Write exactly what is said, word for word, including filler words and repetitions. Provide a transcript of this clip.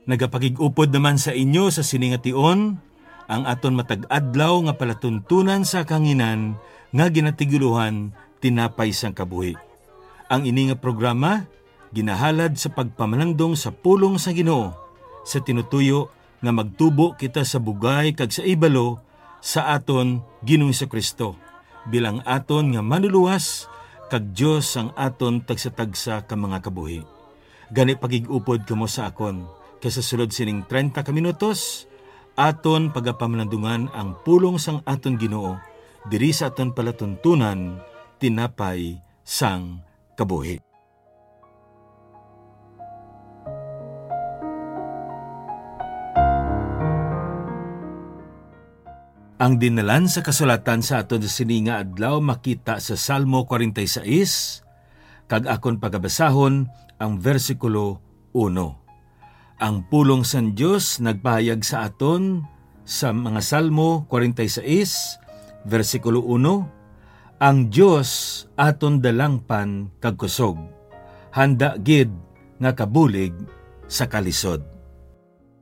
Nagapakig-upod naman sa inyo sa sini nga tion ang aton matag-adlaw nga palatuntunan sa kahanginan nga ginatigulohan Tinapay sang Kabuhi. Ang ini nga programa ginahalad sa pagpamalandong sa pulong sa Ginoo, sa tinutuyo nga magtubo kita sa bugay kag sa ibalo sa aton Ginoong Jesu-Cristo bilang aton nga Manluluwas kag Dios sang aton tagsa-tagsa ka mga kabuhi. Gani, pagig-upod kamo sa akon, kay sa sulod sining treinta ka minutos, aton pagapamalandungan ang pulong sang aton Ginoo diri sa aton palatuntunan, Tinapay sang Kabuhi. Ang dinalan sa kasulatan sa aton sa sini nga adlaw makita sa Salmo forty-six, kag akon pagabasahon ang bersikulo uno. Ang pulong sang Dios nagpahayag sa aton sa mga Salmo forty-six, bersikulo uno, "Ang Dios aton dalangpan kag kusog, handa gid nga kabulig sa kalisod."